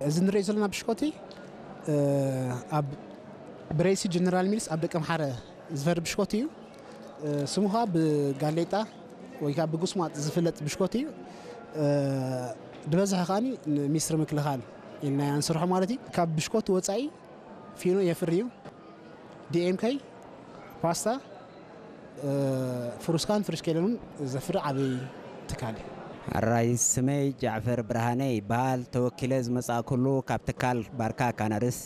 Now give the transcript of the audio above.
እዚ ንሪኦ ዘለና ብሽኮቲ ኣብ ብሬሲ ጀነራል ሚልስ ኣብ ደቀምሓረ ዝፈሪ ብሽኮቲ እዩ። ስሙ ከዓ ብጋሌጣ ወይ ከዓ ብጉስማጥ ዝፍለጥ ብሽኮቲ እዩ። ዝበዝሐ ከዓ ሚኒስትሪ ምክልኻል ኢልና ንስርሖ ማለት እዩ። ካብ ብሽኮቲ ወፃኢ ፊኖ የፍሪ እዩ። ዲኤምከይ፣ ፓስታ፣ ፍሩስካን ፍርሽ ከይለኑን ዘፍሪ ዓብይ ትካል እዩ። ኣራይ፣ ስመይ ጃዕፈር ብርሃነ ይበሃል። ተወኪለ ዝመጻእኩሉ ካብ ትካል ባርካ ካናርስ